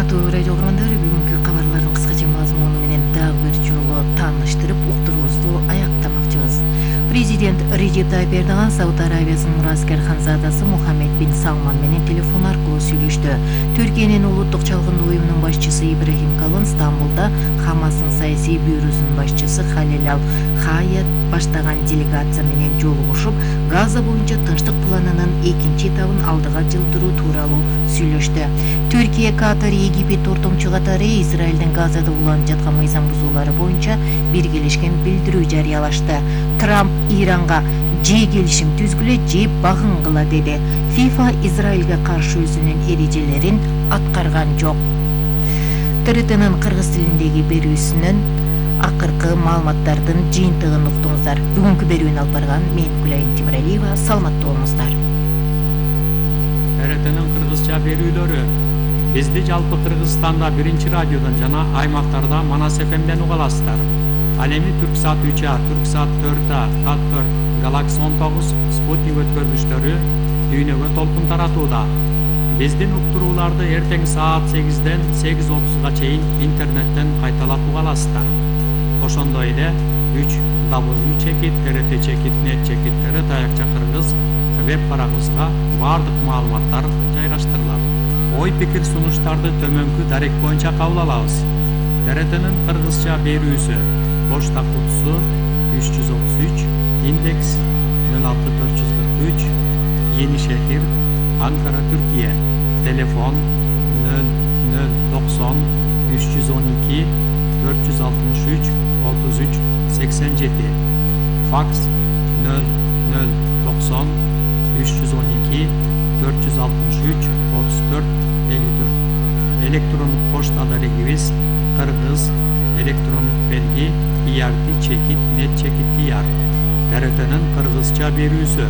Урматтуу радио угармандары, бүгүнкү кабарлардын кыскача мазмуну менен дагы бир жолу тааныштырып, уктуруубузду аяктамакчыбыз. Президент Режеп Тайип Эрдоган Сауд Арабиясынын мураскер ханзадасы Мухаммед бин Салман менен телефон аркылуу сүйлөштү. Түркиянын улуттук чалгындуу уюмунун башчысы Ибрахим Калын Стамбулда Хамастын саясий бюросунун башчысы Халил Ал-Хаят баштаган делегация менен жолугушуп, Газа боюнча тынчтык планынын экинчи этабын алдыга жылдыруу тууралуу сүйлөштү. Түркия, Катар, Египет ортомчу катары Израилдин Газада уланып жаткан мыйзам бузуулары боюнча биргелешкен билдирүү жарыялашты. Трамп Иранга же келишим түзгүлө, же багынгыла деди. ФИФА Израилге каршы өзүнүн эрежелерин аткарган жок. ТРТнын кыргыз тилиндеги берүүсүнөн акыркы маалыматтардын жыйынтыгын уктуңуздар. Бүгүнкү берүүнү алып барган мен Гүлайым Тимиралиева. Саламаттуу болуңуздар. ТРТнын кыргызча берүүлөрү бизди жалпы Кыргызстанда 1 радиодон жана аймактарда Манас ФМден уга аласыздар. Ал эми Түрксат 3А, Түрксат 4А, Фактор, Галакси 19, Спутник өткөргүчтөрү дүйнөгө толкун таратууда. Биздин уктурууларды эртең саат 8ден 8:30га чейин интернеттен кайталап уга аласыздар. Ошондой эле www.trt.net/ТРТ Кыргыз веб барагыбызга баардык маалыматтар жайгаштырылат. Ой пикир сунуштарды төмөнкү дарек боюнча кабыл алабыз. ТРТнын кыргызча берүүсү почта кутусу 333, индекс 06443, Yeni Şehir, Ankara, Türkiye. Telefon 0090 312 463 33 87. Faks 0090 312 463 34 54. Elektronik poçta adresimiz Kırgız elektronik belgi irt.net/tr. TRT'nin Kırgızca berүүsü